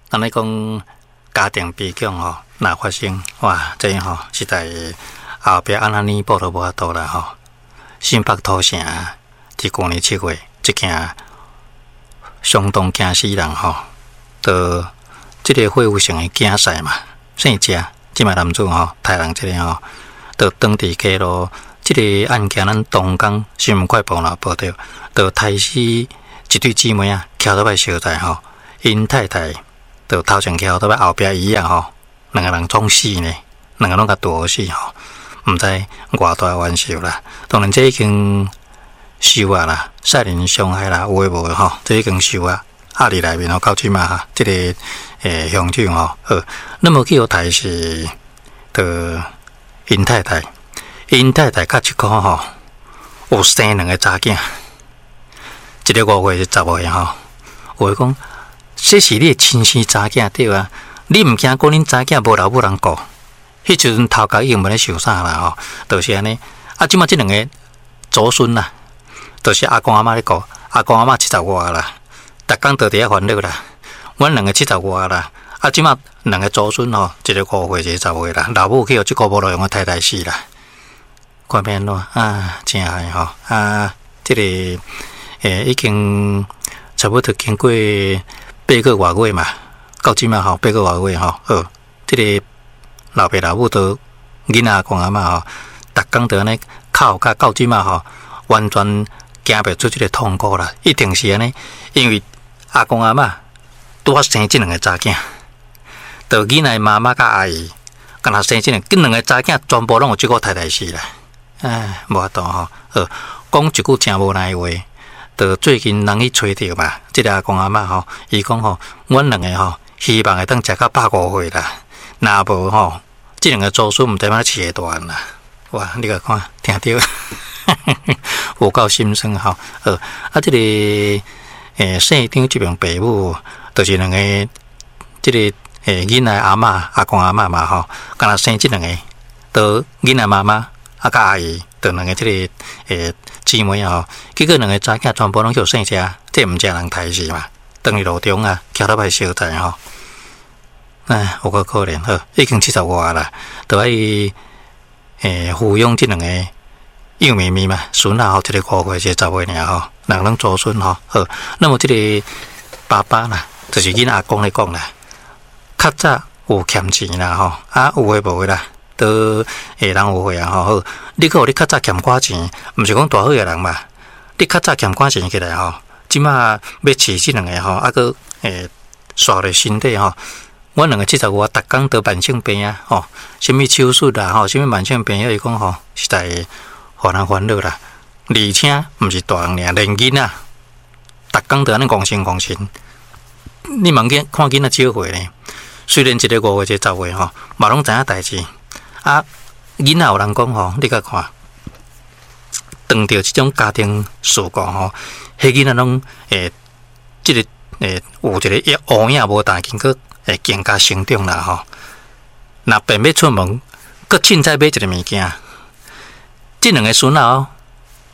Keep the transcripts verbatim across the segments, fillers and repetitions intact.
按呢講家庭悲劇吼，若發生，哇，這吼實在後壁按怎彌補都無法度啦吼。新北土城佇舊年七月，這件相當驚死人吼，就這个霍有成的囝婿嘛，姓謝，這擺男子吼，刣人這个吼，就當佇街路，這个案件咱東港新聞快報嘛報著，就刣死一對姊妹仔，騎倒擺相載吼，𪜶太太就頭前騎倒擺後壁椅仔吼，兩个人創死呢，兩个攏共剁死吼，毋知偌大冤仇啦。當然這已經受啊啦，殺人傷害啦，有的無的吼，這已經受啊，壓佇內面吼，到這馬哈，這個欸凶手吼，好，那麼去予刣死，就𪜶太太，𪜶太太較一箍吼，有生兩个查囝，一个五歲，一個十歲吼。有的講，這是你的親生查囝對啊，你毋驚講恁查囝無老母人顧？彼時陣頭殼已經無咧想啥啦吼，就是按呢。啊，這馬這兩个祖孫啦，就是阿公阿嬤咧顧，阿公阿嬤七十外啦，逐工都佇遐煩惱啦。阮兩个七十外啦，啊，這馬兩个祖孫吼，一个五歲，一个十歲啦，老母去予這個無路用的刣刣死啦。看欲按怎啊，真害吼啊！這个欸已經差不多經過八個外月嘛，到這馬吼八個外月吼，好，這个老爸老母都囡仔阿公阿嬤吼，逐工都按呢哭甲到這馬吼，完全行袂出這个痛苦啦，一定是按呢，因為阿公阿嬤拄仔生這兩个查囝，就囡仔媽媽佮阿姨，敢若生這兩，這兩个查囝全部攏予這个刣刣死啦，唉，無法度吼，好，講一句誠無奈話，就最近人去揣著嘛，這个阿公阿嬤吼，伊講吼，阮兩个吼，希望會當食到百五歲啦，若無吼，這兩个祖孫毋知欲按怎飼會大漢啦。哇，你共看，聽著，有夠心酸吼。好，啊，這个欸姓張這爿爸母，就是兩个這个欸囡仔阿嬤、阿公阿嬤嘛吼，敢若生這兩个，都囡仔媽媽啊佮阿姨，就兩个這个欸姊妹吼，結果兩个查囝全部攏予姓謝，這毋正人刣死嘛，當佇路中啊，騎倒擺相載吼，唉，有夠可憐，好，已經七十外啦，都愛欸撫養這兩個幼咪咪嘛，孫仔吼，一個五歲，一個十歲爾吼，兩個攏祖孫吼，好，那麼這个爸爸啦，就是囡仔阿公咧講啦，較早有欠錢啦吼，啊有的無的啦，都會人有歲啊吼，好，你閣予你較早欠寡錢，毋是講大好的人嘛，你較早欠寡錢起來吼，這馬欲飼這兩个吼，啊閣欸煞咧身體吼。阮兩个七十外，逐工得慢性病啊，吼，啥物手術啦，吼，啥物慢性病，伊講吼，實在予人煩惱啦。而且毋是大人爾，連囡仔，逐工都按呢戇神戇神。你茫見看囡仔少歲呢？雖然一个五歲，一个十歲吼，嘛攏知影代誌。啊，囡仔有人講吼，你共看，當著這種家庭事故吼，彼囡仔攏會這个會有一个烏影無大，經過會更加成長啦吼。若便欲出門，閣凊彩買一个物件，這兩个孫仔哦，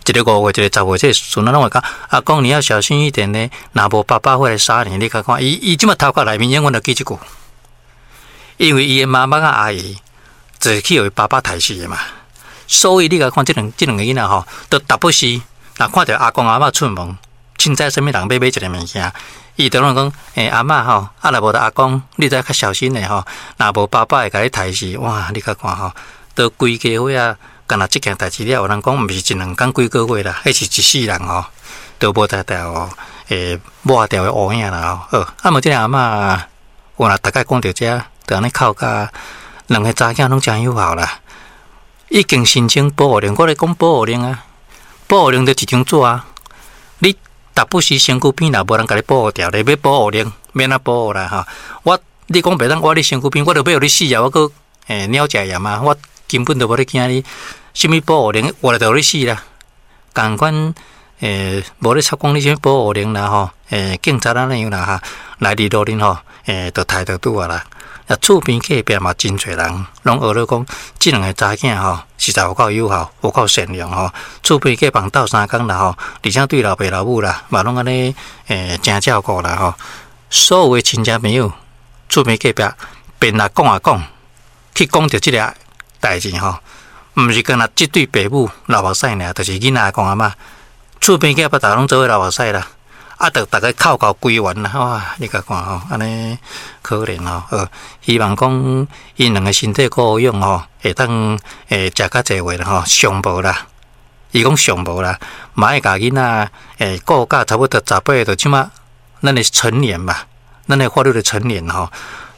一个五歲，一个十歲，這个孫仔攏會講，阿公你要小心一點呢，若無爸爸會來殺你。你共看，伊伊這馬頭殼內面永遠都記這句，因為伊的媽媽佮阿姨就是去予伊爸爸刣死的嘛，所以你共看這兩這兩个囡仔吼，都逐不時若看著阿公阿嬤出門，凊彩啥物人欲買一个物件，伊就攏講，欸阿嬤吼，啊若無就阿公，你著愛較小心的吼，若無爸爸會共你刣死，哇！你共看吼，都規家伙仔，干焦這件代誌了，有人講毋是一兩工幾個月啦，彼是一世人吼，都無才調會抹掉的烏影啦吼。好，啊無這个阿嬤，有若逐擺講著這，就按呢哭甲兩个查囝攏誠有效啦，已經申請保護令，我咧講保護令啊，保護令就一張紙啊，你逐不時身軀邊若無人共你保護著，你欲保護令，欲按怎保護啦吼？我你講袂當倚你身軀邊，我著欲予你死啊！我閣欸鳥食鹽啊！我根本就無咧驚你，啥物保護令，活來就予你死啦。仝款欸，無咧插講你啥物保護令啦吼，欸，警察按呢樣啦哈，來佇路頂吼，欸，就刣就拄啊啦。啊，厝邊隔壁嘛真濟人，攏學咧講，這兩个查囝吼，實在有夠友好，有夠善良吼。厝邊隔壁鬥相共啦吼，而且對老爸老母啦，嘛攏按呢欸，誠照顧啦吼。所有的親戚朋友，厝邊隔壁變來講啊講，去講著這个代誌吼，毋是干焦這對爸母流目屎爾，就是囡仔阿公阿嬤，厝邊隔壁逐家攏做伙流目屎啦。啊，著逐家哭到規園啦，哇！你共看吼，按呢可憐吼，呃，希望講𪜶兩个身體顧養吼，會當會食較濟話啦吼，上無啦，伊講上無啦，嘛愛共囡仔會顧甲差不多十八歲，就這馬咱的成年嘛，咱的法律的成年吼，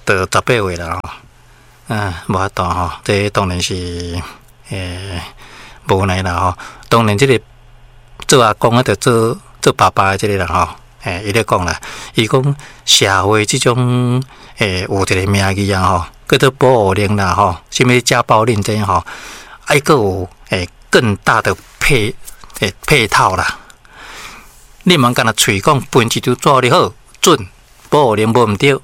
就十八歲啦吼，啊，無法度吼，這當然是欸無奈啦吼，當然這个做阿公的著做做爸爸的這个人吼，欸，伊咧講啦，伊講社會這種欸有一个名義啊吼，叫做保護令啦吼，啥物家暴令這吼，愛閣有欸更大的配欸配套啦。你毋通干焦喙講分一張紙你好，准保護令無毋對，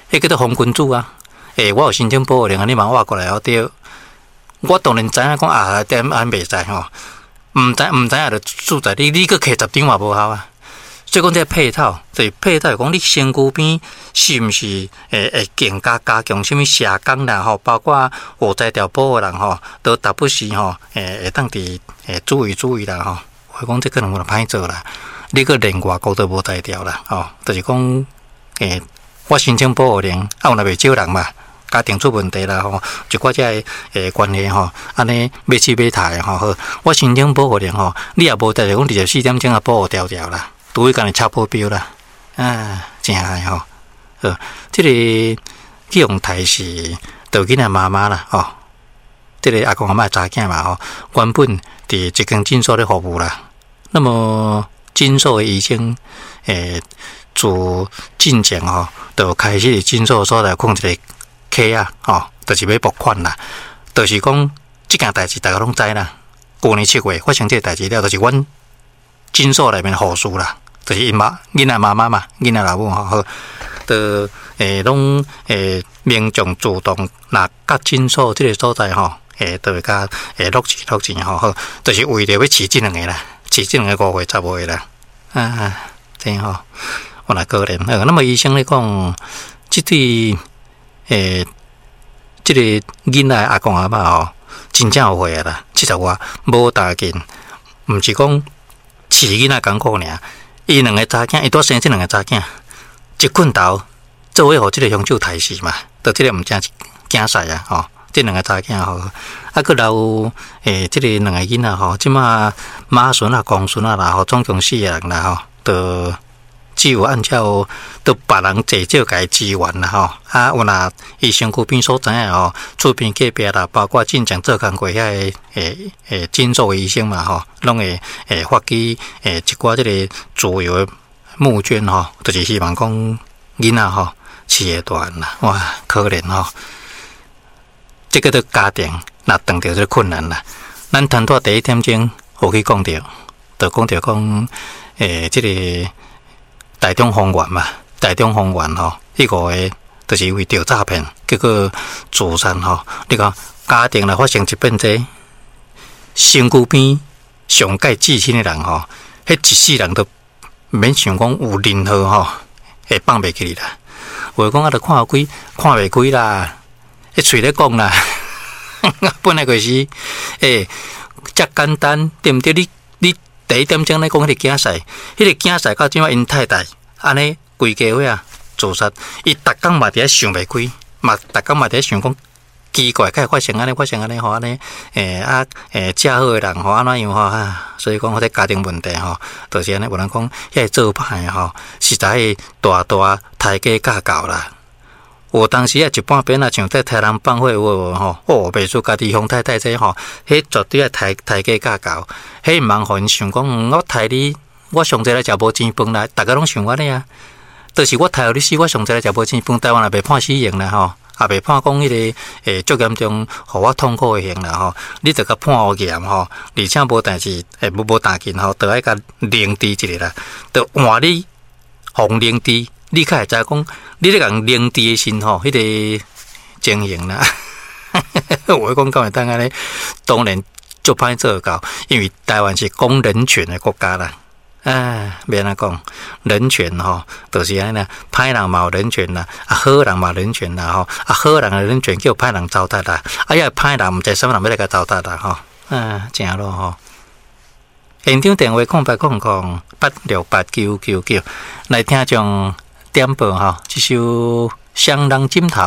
彼叫做紅君子啊。欸，我有申請保護令啊，你茫挖過來哦對。我當然知影講啊，點按袂使吼。毋知毋知影就輸在你，你閣摕十張嘛無效啊。所以講這配套，就是配套，講你身軀邊是毋是會會更加加強啥物社工啦吼，包括有才調保護人吼，都時不時吼，會會當佇會注意注意啦吼。我講這可能有歹做啦，你閣連外國都無才調啦，吼，就是講欸，我申請保護令，啊有若袂少人嘛。家庭出問題啦吼，一寡這个欸關係吼，按呢欲死欲刣的吼，好，我申請保護令吼，你也無代誌講二十四點鐘啊保護牢牢啦，除非共你插保鏢啦，啊，真害吼，好，這个去予刣死著囡仔媽媽啦，吼，這个阿公阿嬤查囝嘛吼，原本佇一間診所咧服務啦，那麼診所的醫生欸，自進前吼，就開始佇診所所在囥一個卡啊，吼，就是欲募款啦，就是講這件代誌逐家攏知啦。舊年七月發生這個代誌了，就是阮診所內面護士啦，就是𪜶媽囡仔媽媽嘛，囡仔老母吼，好，就欸攏欸民眾主動若佮診所這个所在吼，欸就會共欸落錢落錢吼，好，就是為著欲飼這兩个啦，飼這兩個五歲十歲啦，啊，真吼，有若可憐。那麼醫生咧講，這對欸，這个囡仔阿公阿嬤吼，真正有歲啊啦，七十外，無大緊，毋是講飼囡仔艱苦爾，伊兩个查囝，伊拄生這兩个查囝，一困頭做伙予這个兇手刣死嘛，就這个毋正驚死啊吼！這兩个查囝吼，啊，閣留欸，這个兩个囡仔吼，這馬媽孫啊、公孫啊啦吼，總共四个人啦吼，就只有按照著別人濟少共伊支援啦吼，啊，有若伊身軀邊所知影吼，厝邊隔壁啦，包括進前做工過遐个欸欸診所的醫生嘛吼，攏會會發起欸一寡這个自由的募捐吼，就是希望講囡仔吼飼會大漢啦，哇，可憐吼！這个著家庭若碰著這个困難啦，咱頭拄第一點鐘有去講著，就講著講欸，這个台中豐原嘛，台中豐原吼，彼五个就是因為著詐騙，結果自殺吼。你看家庭若發生一變這，身軀邊上蓋至親的人吼，彼一世人都毋免想講有任何吼會放袂記你啦。有的講啊，著看開，看袂開啦，彼喙咧講啦，本來就是欸，遮簡單對毋對？你你第一點鐘咧講彼個囝婿，彼個囝婿到這馬𪜶太太按呢規家伙啊自殺，伊逐工嘛佇遐想袂開，嘛逐工嘛佇遐想講奇怪，敢會發生按呢發生按呢吼按呢欸啊欸遮好的人吼按怎樣吼啊？所以講這家庭問題吼，就是按呢有人講遐个做歹的吼，實在大大刣雞教狗啦。有當時啊，一半邊啊，像在刣人放火有無吼？哦，袂輸家己鄉太太這吼，彼絕對愛刣刣雞教狗。彼毋通予𪜶想講，我刣你，我上濟來食無錢飯啦，逐家攏想按呢啊。就是我刣予你死，我上濟來食無錢飯，台灣也袂判死刑啦吼，也袂判講彼个欸足嚴重，予我痛苦的刑啦吼。你著共判予嚴吼，而且無代誌，欸無無大緊吼，著愛共凌遲一下啦，著換你予凌遲。你較會知講，你咧共凌遲的時吼，彼个情形啦。我講敢會當按呢？當然足歹做到，因為台灣是講人權的國家啦。啊，欲按怎講，人權吼，就是按呢，歹人嘛有人權啦，啊好人嘛人權啦吼，啊好人的人權叫歹人糟蹋啦，啊也歹人毋知啥物人欲來共糟蹋啦吼，啊，誠囉吼。現場電話空八空空八六八九九九，來聽眾點播吼，這首《雙人枕頭》。